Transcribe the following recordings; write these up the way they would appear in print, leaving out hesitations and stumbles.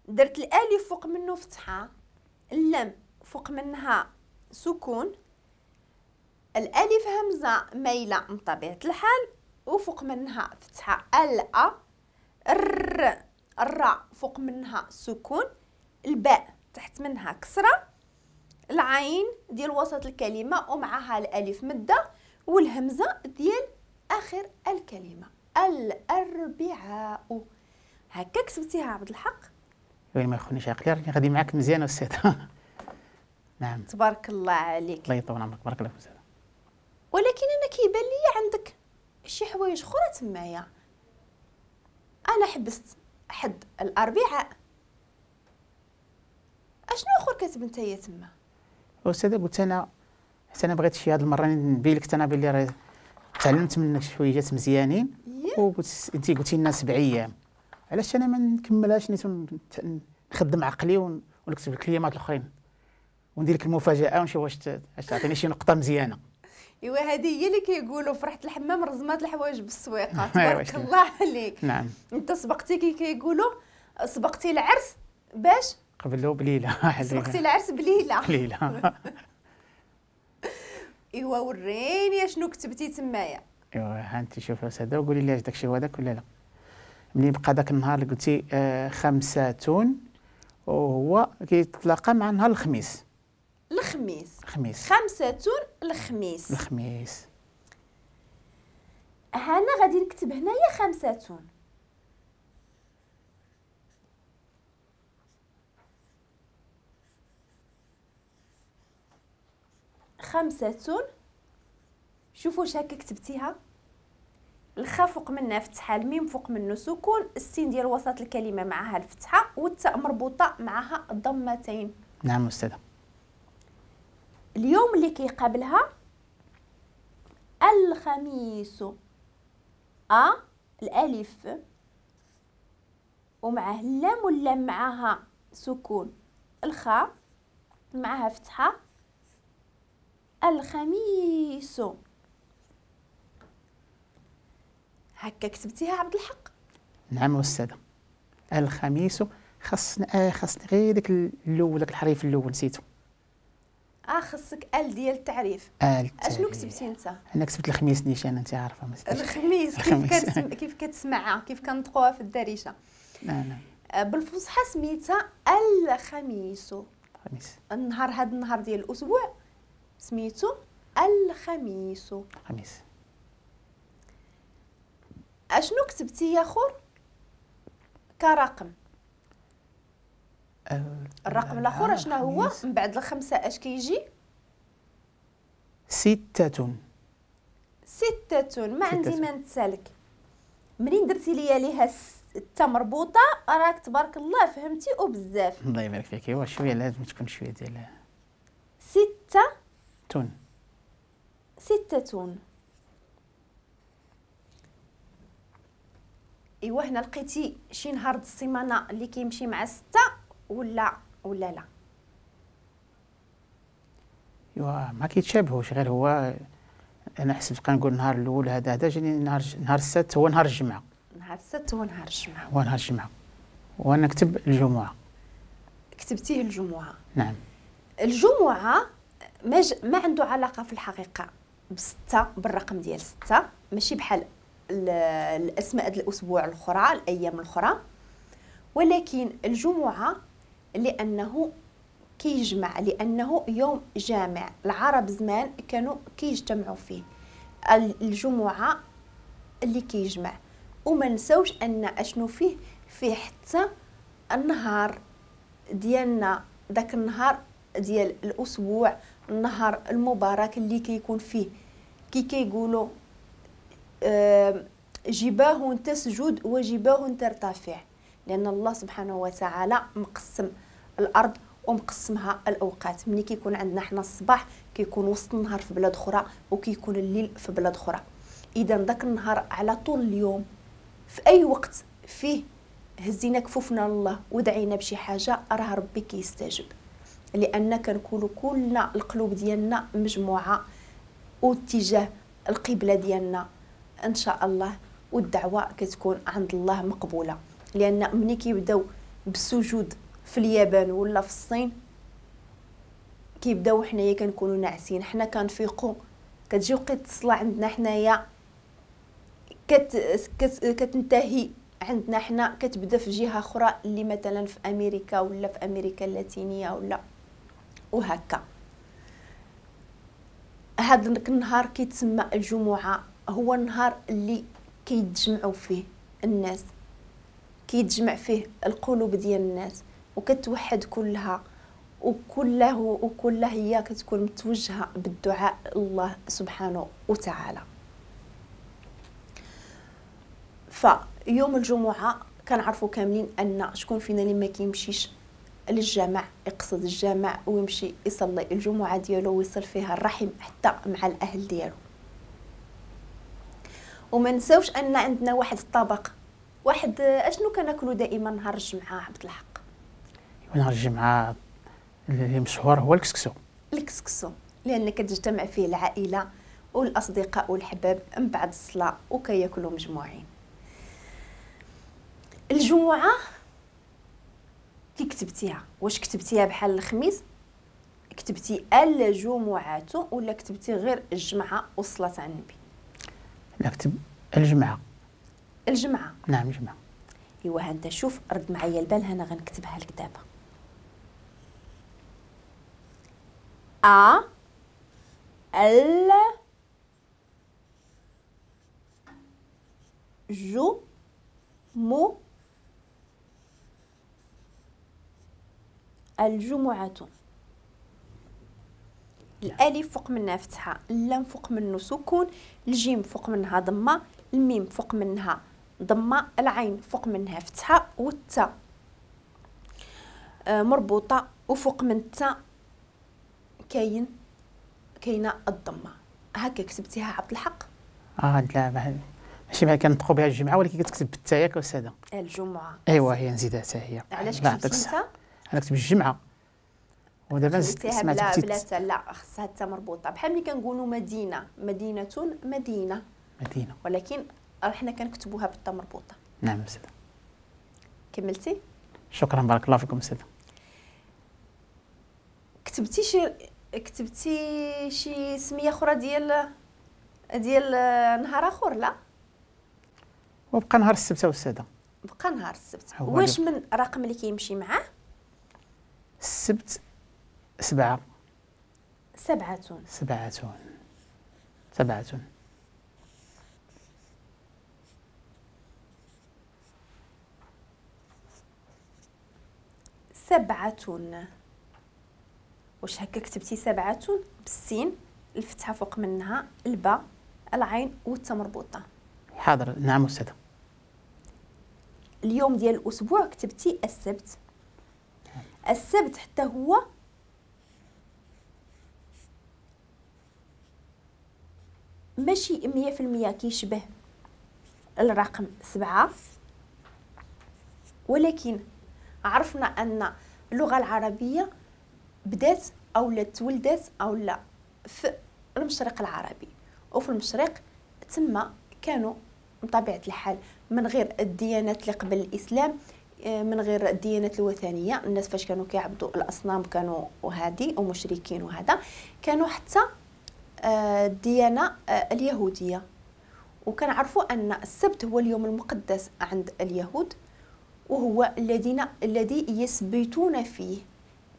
درت الالف فوق منه فتحه، اللام فوق منها سكون، الالف همزه مايلة من طبيعة الحال وفوق منها فتحه، الا الر الراء فوق منها سكون، الباء تحت منها كسره، العين ديال وسط الكلمة ومعها الالف مده، والهمزة ديال اخر الكلمة. الاربعاء. هكا كتبتيها عبد الحق؟ وين ما يخونيش عقلي، راني غادي معاك مزيان استاذ. نعم تبارك الله عليك. الله يطول عمرك، بارك الله فيك استاذ. ولكن انا كيبان لي عندك شي حوايج اخرى تمايا. انا حبست حد الاربعاء، اشنو اخر كاتب نتايا تما؟ استاذ قلت انا حتى انا بغيت شي هاد المرة نبين لك انا بلي راه تعلمت منك شي حويجات مزيانين، وقلت انت قلتي لنا 7 ايام، علاش انا ما نكملهاش نيت نخدم عقلي ونكتب الكلمات الاخرين وندير لك المفاجاة ونشوف واش تعطيني شي نقطة مزيانه. ايوا هذه هي اللي كيقولوا فرحه الحمام رزمات الحوايج بالسويقه. تبارك الله عليك. نعم انت سبقتي كي كيقولوا سبقتي العرس باش قبلو بليلة. سبقتي العرس بليلة. بليلة. ايوا وريني شنو كتبتي تمايا. ايوا ها انت شوفي استاذه وقولي لي اش داكشي هو هذاك ولا لا. ملي بقى داك النهار اللي قلتي 5 وهو كيتلاقى مع نهار الخميس. الخميس. الخميس 5 الخميس. الخميس. هنا غادي نكتب هنايا 5. 5. شوفوا واش هكا كتبتيها. الخا فوق منها فتحه، الميم فوق منه سكون، السين ديال وسط الكلمة معها الفتحة، والتاء مربوطة معها الضمتين. نعم استاذه. اليوم اللي كيقابلها الخميس، ا الالف ومعه اللام واللام معها سكون، الخاء معها فتحه، الخميس. هكا كتبتيها عبد الحق؟ نعم استاذه. الخميس خصنا خصني غير داك الاول، داك الحرف الاول نسيتو. خصك ال ديال التعريف. اشنو كتبتي انت؟ انا كتبت الخميس نيشان، انت عارفه الخميس كيف كتسمعها، كيف كنطقوها في الدارجة. نعم. بالفصحى سميتها الخميس. الخميس. النهار، هذا النهار ديال الاسبوع سميتو الخميس. الخميس. اشنو كتبتي يا خور كرقم؟ الرقم الاخر اشنو هو من بعد 5؟ اش كيجي؟ 6. 6. ما عندي ما نتسالك. منين درتي ليا ليها 6 مربوطة راك تبارك الله فهمتي وبزاف. الله يبارك فيك. ايوا شوية لازم تكون شوية ديال 6 تون. 6. ايوا هنا لقيتي شي نهار د السيمانة اللي كيمشي مع 6 ولا لا؟ ايوا ما كيتشابهوش، غير هو انا حسبت كنقول النهار الاول هذا جاني نهار السبت هو نهار الجمعة. نهار السبت هو نهار الجمعة. هو نهار الجمعة وانا كتب الجمعة. كتبتيه الجمعة؟ نعم. الجمعة ما عنده علاقة في الحقيقة ب6، بالرقم ديال 6، ماشي بحال الاسماء ديال الاسبوع الاخرى، الايام الاخرى، ولكن الجمعة لانه كيجمع، لانه يوم جامع. العرب زمان كانوا كيجتمعوا فيه، الجمعة اللي كيجمع. وما نساوش ان اشنو فيه، فيه حتى النهار ديالنا، داك النهار ديال الاسبوع، النهار المبارك اللي كيكون فيه كي كيقولوا جباه تسجد وجباه ترتفع، لان الله سبحانه وتعالى مقسم الارض ومقسمها الاوقات. ملي كيكون عندنا حنا الصباح كيكون وسط النهار في بلاد اخرى وكيكون الليل في بلاد اخرى. اذا داك النهار على طول اليوم في اي وقت فيه هزينا كفوفنا لله ودعينا بشي حاجة راه ربي كيستجب، لان كنكونوا كلنا القلوب ديالنا مجموعة واتجاه القبلة ديالنا ان شاء الله، والدعوة كتكون عند الله مقبولة. لان ملي كيبداو بالسجود في اليابان ولا في الصين كيبداو حنايا كنكونوا ناعسين، حنا كنفيقوا كتجي وقت الصلاة عندنا حنايا كتنتهي عندنا حنا، كتبدا في جهة اخرى اللي مثلا في امريكا ولا في امريكا اللاتينية ولا وهكا. هذا النهار كيتسمى الجمعة، هو النهار اللي كيتجمعوا فيه الناس، كيتجمع فيه القلوب ديال الناس وكتوحد كلها، وكلها هي كتكون متوجهه بالدعاء الله سبحانه وتعالى. فيوم الجمعة كنعرفوا كاملين ان شكون فينا اللي ما كيمشيش للجامع، يقصد الجامع ويمشي يصلي الجمعة ديالو ويصل فيها الرحم حتى مع الاهل ديالو. وما نساوش ان عندنا واحد الطبق، واحد اشنو كناكلو دائما نهار الجمعة عبد الحق؟ نهار الجمعة اللي مشهور هو الكسكسو. الكسكسو لان كتجتمع فيه العائلة والاصدقاء والحباب من بعد الصلاة وكياكلوا مجموعين. الجمعة كي كتبتيها، واش كتبتيها بحال الخميس كتبتي الجمعة ولا كتبتي غير الجمعة والصلاة على النبي؟ لا، كتب الجمعة. الجمعة، نعم الجمعة. ايوا ها انت شوف، رد معايا البال، انا غنكتبها لك دابا. ا ال جو مو الجمعة. الالف فوق منها فتحة، اللام فوق منه سكون، الجيم فوق منها ضمة، الميم فوق منها ضمة، العين فوق منها فتحة، والتاء مربوطة وفوق من التاء كاينه الضمة. هكا كتبتيها عبد الحق؟ لا ماشي بحال كنطقوا بها الجمعة، ولكن كتكتب بالتاء ياك أستاذة؟ الجمعة. ايوا هي نزيدها حتى هي. علاش كتبتي انت؟ انا كتب الجمعة ودابا سمعت بلا بلا لا، خصها حتى مربوطة، بحال ملي كنقولوا مدينة، مدينة، مدينة، مدينة، ولكن حنا كنكتبوها بالتاء مربوطة. نعم أستاذة. كملتي؟ شكرا، بارك الله فيكم أستاذة. كتبتي شي سميه اخرى ديال نهار اخر؟ لا، وبقى نهار السبت أستاذة. بقى نهار السبت. واش من رقم اللي كيمشي معاه؟ السبت 7. 7. 7. 7. 7. واش هكا كتبتي 7 بالسين، الفتحة فوق منها الباء، العين والتاء مربوطة؟ حاضر، نعم أستاذة. اليوم ديال الأسبوع كتبتي السبت. السبت حتى هو ماشي 100% كيشبه الرقم 7، ولكن عرفنا أن اللغة العربية بدات أو لا تولدت أو لا في المشرق العربي، وفي المشرق تما كانوا بطبيعة الحال من غير الديانات اللي قبل الإسلام، من غير الديانات الوثنية، الناس فاش كانوا كيعبدوا الأصنام كانوا وهادي ومشركين وهذا، كانوا حتى الديانة اليهودية. وكنعرفوا أن السبت هو اليوم المقدس عند اليهود، وهو الذي يثبتون فيه.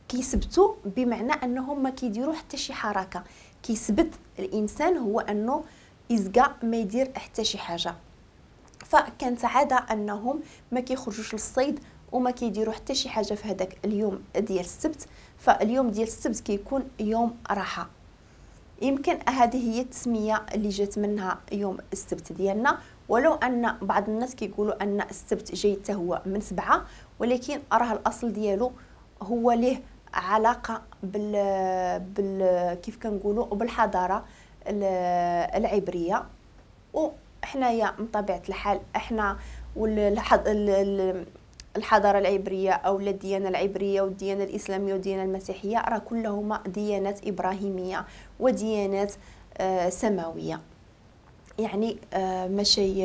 كيثبتوا بمعنى أنهم ما كيديروا حتى شي حركة. كيثبت الإنسان هو أنه يزكى ما يدير حتى شي حاجة. فكانت عادة أنهم ما كيخرجوش للصيد وما كيديروا حتى شي حاجة في هذاك اليوم ديال السبت. فاليوم ديال السبت كيكون يوم راحة. يمكن هذه هي التسمية اللي جات منها يوم السبت ديالنا، ولو أن بعض الناس كيقولوا أن السبت جاي حتى هو من 7، ولكن راه الأصل ديالو هو ليه علاقة بال كيف كنقولوا بالحضارة العبرية. وحنايا من طبيعة الحال احنا الحضارة العبرية أو الديانة العبرية والديانة الإسلامية والديانة المسيحية راه كلهما ديانات إبراهيمية وديانات سماوية. يعني ماشي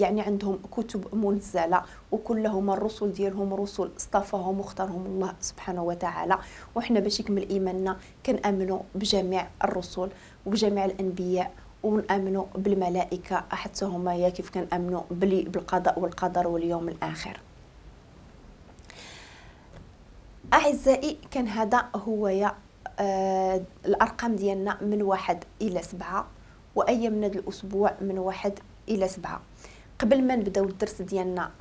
يعني عندهم كتب منزله، وكلهم الرسل ديالهم رسل اصطفاهم واختارهم الله سبحانه وتعالى. وحنا باش يكمل ايماننا كنامنوا بجميع الرسل وبجميع الانبياء، ونامنوا بالملائكة حتى هما يا كيف كنامنوا بالقضاء والقدر واليوم الاخر. اعزائي كان هذا هو يا الارقام ديالنا من 1 الى 7، وايامنا الاسبوع من 1 الى 7. قبل ما نبداو الدرس ديالنا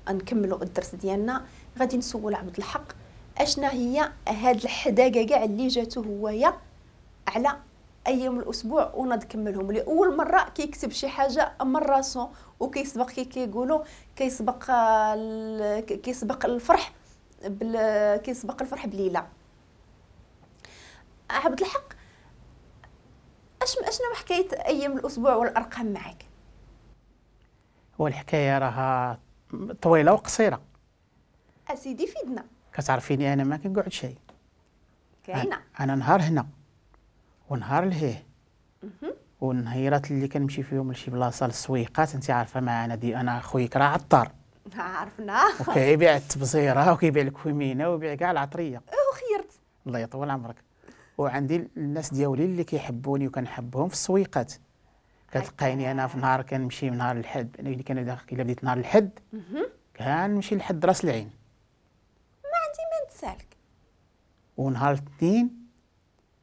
نكملوا الدرس ديالنا، غادي نسول عبد الحق اشنا هي هاد الحداقه كاع اللي جاتو هويا على ايام الاسبوع ونض كملهم. لاول مرة كيكتب شي حاجة من راسو وكيسبق، كي كيقولوا كيسبق الفرح كيسبق الفرح بليلة. عبد الحق اشنو حكاية ايام الاسبوع والارقام معك؟ والحكاية راها طويلة وقصيره اسيدي، فيدنا. كتعرفيني انا ما كنقعد شيء، كاينه انا نهار هنا ونهار لهيه، والنهيرات اللي كنمشي فيهم لشي بلاصة للسويقات، انت عارفه معنا دي انا خويا راه عطار، عرفنا، وكيبيع التبزيره وكيبيع الكومينه ويبيع كاع العطريه. وخيرت الله يطول عمرك. وعندي الناس ديالي اللي كيحبوني وكنحبهم في السويقات. كتلقايني انا في نهار كنمشي نهار الحد، انا اللي كان الا بديت نهار الحد كنمشي لحد راس العين، ما عندي ما نتسالك. ونهار الاثنين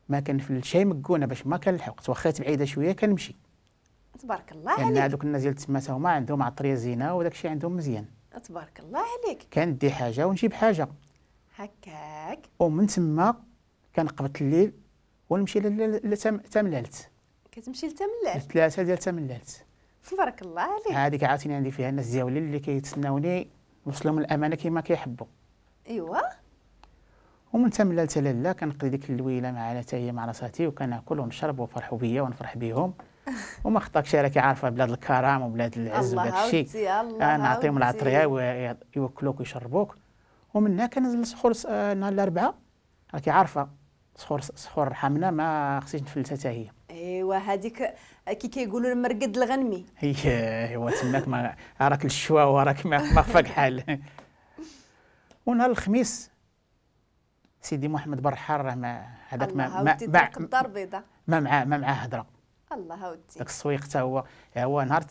ما كنفلت شي مكونه باش ما كنلحق، واخا بعيدة شوية كنمشي. تبارك الله عليك. لان هذوك الناس ديال تما تا هما عندهم عطريه زينة وداك الشيء عندهم مزيان. تبارك الله عليك. كندي حاجة ونجيب حاجة هكاك، ومن تما كنقبط الليل ونمشي لتملالت. كتمشي لتملالت؟ 3 ديال تملالت. تبارك الله عليك. هذيك عاوتاني عندي فيها الناس ديالي اللي كيتسناوني نوصلهم الامانة كما كيحبوا. ايوا. ومن تملالت لالا كنقضي ديك اللويله مع حتى هي مع راساتي، وكناكل ونشرب وفرحوا بيا ونفرح بيهم. وما خطاكش راكي عارفه بلاد الكرم وبلاد العز وداك الشيء، نعطيهم العطريه ويوكلوك ويشربوك. ومنها كنزل صخور نهار الاربعاء، راكي عارفه صخور رحمنا ما خصنيش نفلتها حتى هي. ايوا هذيك كي كيقولوا المرقد الغنمي. ايوا تماك ما راك الشوا وراك ما خفاك حال. ونهار الخميس سيدي محمد برحال راه ما هذاك ما ما الدار البيضاء ما معاه هضره. الله ودي داك السويق حتى هو نهار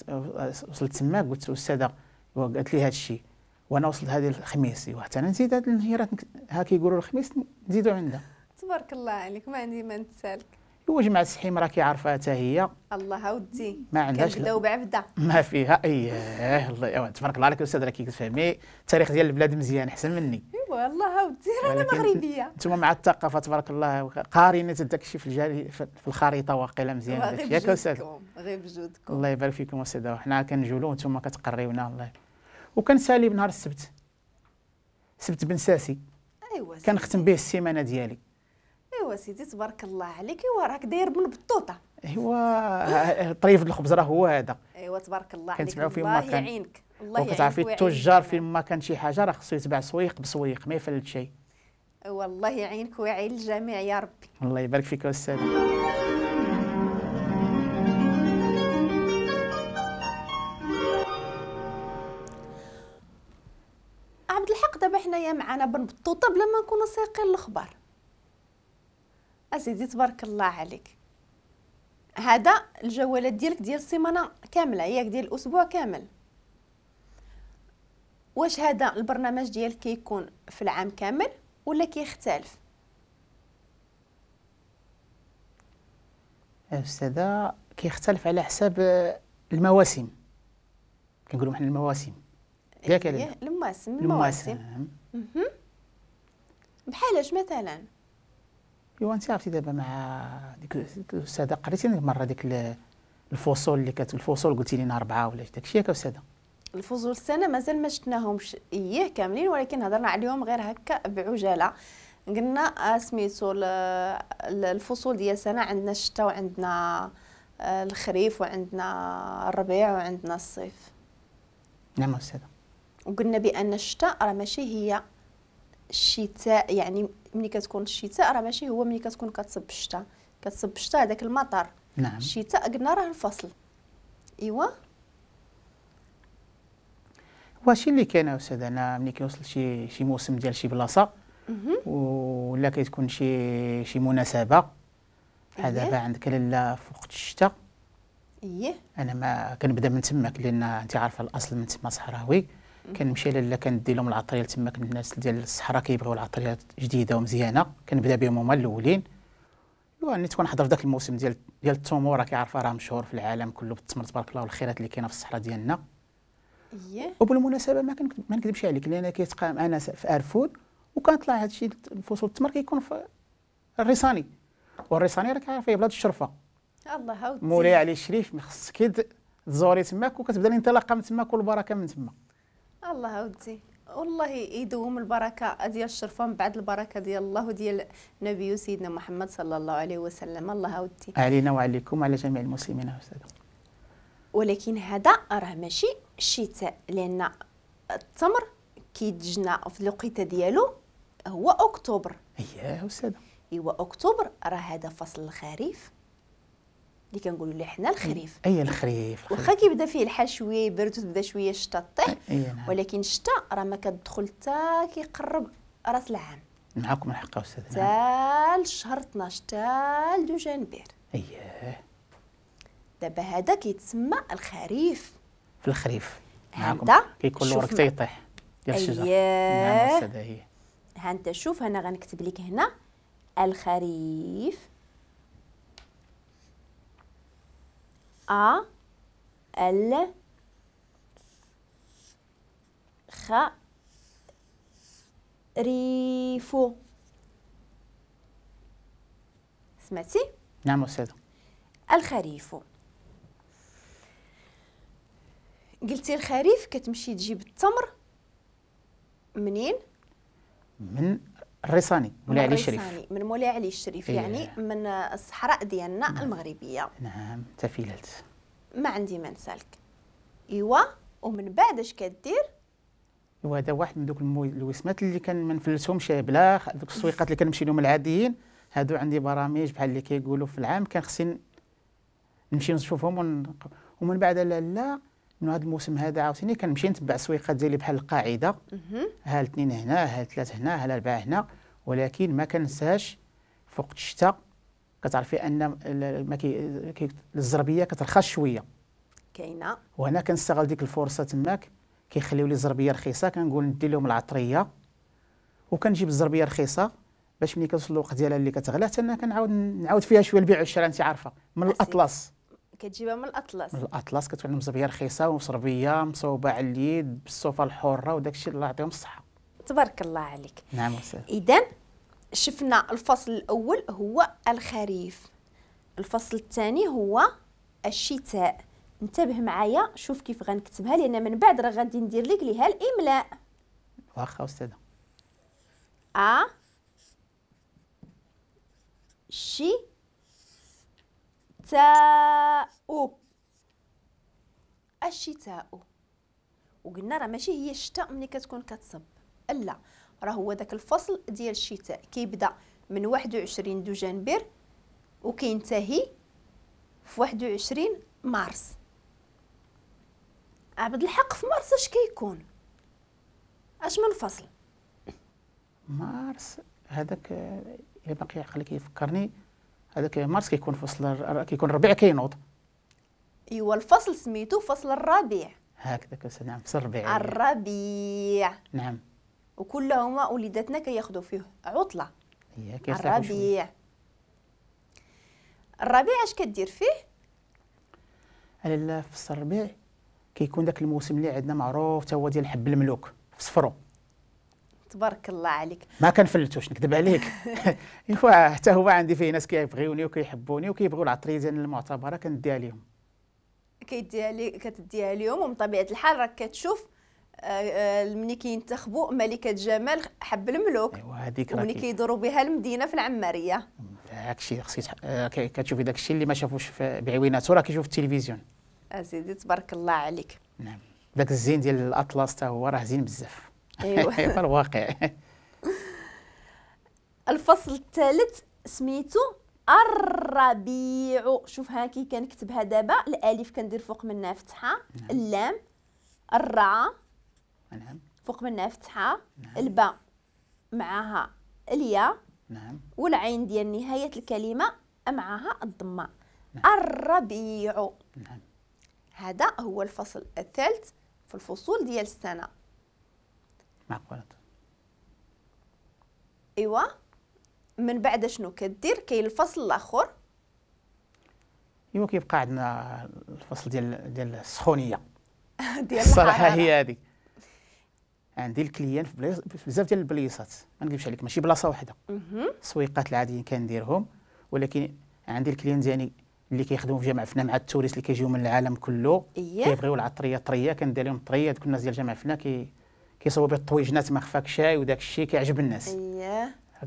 وصلت تما قلت استاذه قالت لي هذا الشيء وانا وصلت هذه الخميس، ايوا حتى انا نزيد هاد النهيرات ها كيقولوا الخميس نزيدوا عندها. تبارك الله عليك، ما عندي ما نتسالك. ايوا جماعة السحيم راكي عارفه حتى هي. الله ودي ما عندهاش كنبداو بعبده ما فيها. اييه الله تبارك الله عليك استاذ، راكي كتفهمي التاريخ ديال البلاد مزيان احسن مني. ايوا الله ودي رانا مغربية. انتم مع الثقافة تبارك الله قاريين داك الشيء في الجاري في الخريطة واقيلا مزيان داك الشيء. ياك استاذ؟ غير بجودكم. الله يبارك فيكم استاذ، وحنا كنجولوا وانتم كتقريونا. الله. وكنسالي بنهار السبت، سبت بن ساسي. ايوا كنختم به السيمانة ديالي. ايوا سيدي تبارك الله عليك. ايوا راك داير بن بطوطة. ايوا طريف الخبز راه هو هذا. ايوا تبارك الله عليك. كنتبعوا فين ما الله كان. يعينك. الله يعينك. وكتعرفي التجار فين ما كان شي حاجة راه خصو يتبع سويق بسويق ما يفلت شيء. ايوا الله يعينك ويعين الجميع يا ربي. الله يبارك فيك استاذ. عبد الحق دابا حنايا معنا بن بطوطة بلا ما نكونوا سايقين الاخبار. اسيدي تبارك الله عليك، هذا الجوالات ديالك ديال السيمانة كاملة ياك، ديال الاسبوع كامل. واش هذا البرنامج ديالك كيكون في العام كامل ولا كيختلف؟ استاذه كيختلف على حساب المواسم. كنقولوا حنا المواسم ياك؟ المواسم المواسم. بحالاش مثلا؟ ايوا انت عرفتي دابا مع ديك الاستاذة قريتي مرة ديك الفصول اللي الفصول قلتي لنا 4 ولا داكشي ياك استاذه؟ الفصول السنة مازال ما شفناهمش اييه كاملين، ولكن هضرنا عليهم غير هكا بعجاله. قلنا سميتو الفصول ديال السنة، عندنا الشتاء وعندنا الخريف وعندنا الربيع وعندنا الصيف. نعم استاذه. وقلنا بان الشتاء راه ماشي هي الشتاء، يعني ملي كتكون الشتاء راه ماشي هو ملي كتكون كتصب الشتاء، كتصب الشتاء هذاك المطر. نعم. الشتاء قلنا راه الفصل، ايوا وهادشي اللي كاين استاذ. انا ملي كيوصل شي موسم ديال شي بلاصة ولا كتكون شي مناسبة بحال دابا عندك لاله في وقت الشتاء. ايه انا ما كنبدا من تماك لان انت عارفه الاصل من تما صحراوي. كنمشي لاله كندي لهم العطريه تماك، الناس ديال الصحراء كيبغيو العطريات جديدة ومزيانه، كنبدا بهم هما الاولين. واني تكون حضر في ذاك الموسم ديال التمور، راكي عارفه راه مشهور في العالم كله بالتمر تبارك الله والخيرات اللي كاينه في الصحراء ديالنا. اييه وبالمناسبة ما نكذبش عليك لان كيتقام انا في ارفود وكنطلع هادشي فصول التمر كيكون في الريصاني، والريصاني راك عارفه بلاد الشرفة. الله هاودي مولاي علي الشريف خصك تزوري تماك وكتبدا الانطلاقة من تماك والبركة من تما. الله هاودي والله يدوم البركة ديال الشرفة من بعد البركة ديال الله وديال نبي سيدنا محمد صلى الله عليه وسلم. الله هاودي علينا وعليكم وعلى جميع المسلمين استاذ. ولكن هذا راه ماشي الشتاء، لان التمر كيتجنى في الوقيته ديالو هو اكتوبر. اييه استاذ. ايوا اكتوبر راه هذا فصل الخريف اللي كنقولوا ليه حنا الخريف. اي الخريف واخا كيبدا فيه الحال شوية يبرد وتبدا شوية الشتا طيح، نعم. ولكن الشتا راه ما كتدخل حتى كيقرب راس العام. معاكم الحق استاذ. حتى الشهر 12 حتى لدجنبر. اييه دابا هذا كيتسمى الخريف. في الخريف معاكم كيكون الورق تيطيح ديال الشجر. نعم استاذ. هي ها انت شوف، انا غنكتب لك هنا الخريف أ ال خ ريفو. سمعتي؟ نعم أستاذ. الخريف. قلتي الخريف كتمشي تجيب التمر منين؟ من الريصاني مولاي علي الشريف. من مولاي علي الشريف. إيه. يعني من الصحراء ديالنا. نعم. المغربية. نعم تفيلت. ما عندي ما نسالك. ايوا ومن بعد اش كدير؟ ايوا هذا واحد من دوك الوسمات اللي كان ما نفلتهمش بلا دوك السويقات اللي كنمشي لهم العاديين. هادو عندي برامج بحال اللي كيقولوا في العام كان خصني نمشي نشوفهم ومن بعد لا من هذا الموسم هذا عاوتاني كنمشي نتبع السويقات ديالي بحال القاعدة، ها الاثنين هنا، ها ثلاث هنا، ها الاربعة هنا. ولكن ما كنساش فوق الشتاء كتعرفي ان ما الزربيه كترخص شوية كاينه، وهنا كنستغل ديك الفرصة تماك كيخليو لي الزربيه رخيصة، كنقول ندي لهم العطريه وكنجيب الزربيه رخيصة باش ملي كتوصل الوقت ديالها اللي كتغلى حتى انا كنعاود نعاود فيها شوية البيع والشراء. انت عارفه من الاطلس كتجيبها، من الاطلس. من الاطلس كتكون عندهم زربيه رخيصة وصربيه مصوبه على اليد بالصوفه الحرة وداك الشيء، الله يعطيهم الصحة. تبارك الله عليك. نعم أستاذ. اذا شفنا الفصل الاول هو الخريف، الفصل الثاني هو الشتاء. انتبه معايا شوف كيف غنكتبها لان من بعد راه غادي ندير لك ليها الاملاء. واخا استاذه. ا شي تاء الشتاء. وقلنا راه ماشي هي الشتاء ملي كتكون كتصب، لا راه هو داك الفصل ديال الشتاء كيبدا من 21 دجنبر وكينتهي في 21 مارس. عبد الحق في مارس اش كيكون؟ اش من فصل؟ مارس هذاك الا باقي عقلي كيفكرني، هذاك مارس كيكون فصل، كيكون الربيع كينوض. ايوا الفصل سميتو فصل الربيع. هكذاك. نعم فصل الربيع. الربيع. نعم. وكلهما وليداتنا كياخذوا فيه عطله. هي الربيع. الربيع اش كدير فيه؟ لا في الربيع كيكون داك الموسم اللي عندنا معروف تا هو ديال حب الملوك في صفرو. تبارك الله عليك. ما كنفلتوش نكذب عليك. ايوا حتى هو عندي فيه ناس كيبغيوني وكيحبوني وكيبغيو العطريه ديال المعتبرة كنديها لهم. كيديها لي كتديها لهم. ومن طبيعة الحال راك كتشوف ملي كينتخبوا ملكه جمال حب الملوك. ايوا هذيك راه وملي كيدوروا بها المدينة في العماريه. داكشي خصك كتشوفي داكشي اللي ما شافوش بعويناتو راه كيشوف في التلفزيون. اسيدي تبارك الله عليك. نعم داك الزين ديال الاطلس حتى هو راه زين بزاف. ايوا في الواقع. الفصل الثالث سميتو الربيع. شوف ها كي كنكتبها دابا، الالف كندير فوق منها فتحه، نعم. اللام، الراء، نعم، فوق منها فتحه، نعم. الباء معها الياء، نعم، والعين ديال نهاية الكلمة معها الضمة. نعم. الربيع. نعم. هذا هو الفصل الثالث في الفصول ديال السنة. معقولة. ايوا من بعد شنو كدير؟ كاين الفصل الاخر. ايوا كيبقى عندنا الفصل ديال السخونيه ديال الصراحة الحرارة. هي هذه. عندي ال clients في بزاف ديال البليصات، ما نكذبش عليك ماشي بلاصة واحدة. السويقات العاديين كنديرهم، ولكن عندي ال clients ديالي اللي كيخدموا في جامع فنا مع ال touristes اللي كيجيو من العالم كله، كيبغيو العطريه طرية، كندير لهم طرية. دوك الناس ديال جامع فنا كيصوبوا بها الطويجنات ما خفاك شاي وداك الشيء كيعجب الناس.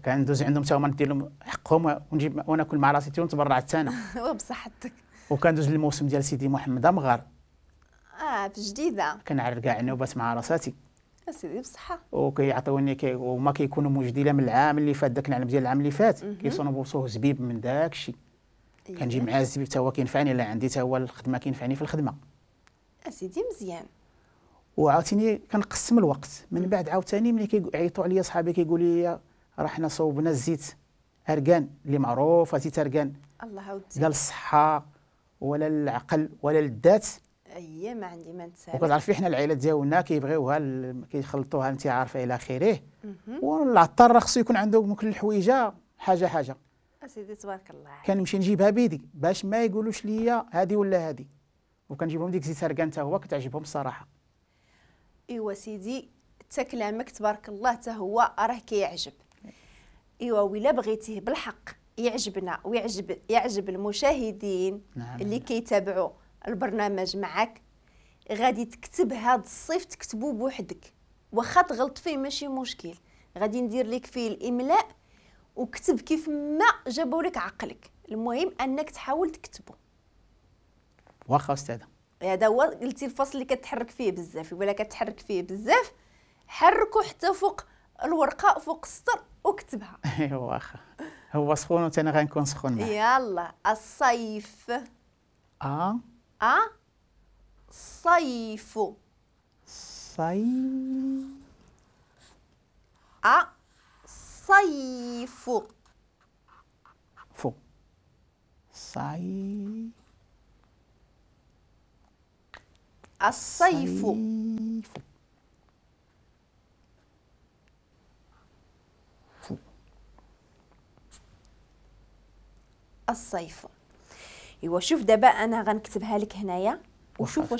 كندوز عندهم حتى هما ندير لهم حقهم ونجيب وناكل مع راسي ونتبرع حتى انا. وبصحتك. وكندوز للموسم ديال سيدي محمد امغار. في جديدة. كنعرف كاع النوبات مع راساتي. سيدي بصحة. وكيعطيوني وما كيكونوا موجودين من العام اللي فات، داك العام ديال العام اللي فات كيصونوا زبيب من داك الشيء. كنجيب معاه الزبيب حتى هو كينفعني، لا عندي حتى هو الخدمة كينفعني في الخدمة. اسيدي مزيان. وعاوتاني كنقسم الوقت. من بعد عاوتاني ملي كيعيطوا عليا صحابي كيقولوا لي راه حنا صوبنا الزيت اركان اللي معروفة، زيت اركان الله عاودتي لا للصحة ولا للعقل ولا للذات. اييه ما عندي ما نتسالك. وكتعرفي حنا العائلات ديالنا كيبغيوها كيخلطوها انت عارفه الى اخره. والعطار راه خصو يكون عنده من كل حويجه حاجة حاجة. اسيدي تبارك الله عليك. كنمشي نجيبها بيدي باش ما يقولوش ليا هذه ولا هذه، وكنجيبهم ديك زيت اركان حتى هو كتعجبهم الصراحة. ايوا سيدي حتى كلامك تبارك الله حتى هو راه كيعجب. ايوا ولا بغيتيه بالحق يعجبنا ويعجب يعجب المشاهدين. نعم. اللي كيتابعوا البرنامج معك، غادي تكتب هذا الصيف تكتبو بوحدك، واخا تغلط فيه ماشي مشكل، غادي ندير لك فيه الاملاء وكتب كيف ما جابوا لك عقلك، المهم انك تحاول تكتبه. واخا استاذه. هذا هو قلتي الفصل اللي كتحرك فيه بزاف، ولا كتحرك فيه بزاف حركو حتى فوق الورقة فوق السطر وكتبها. ايوا واخا هو سخون وانت انا غنكون سخون معاه. يلا الصيف. ا صيف. صيف. ا صيف. فو. صي. الصيف. فو. الصيف. ايوا شوف دابا انا غنكتبها لك هنايا وشوف واش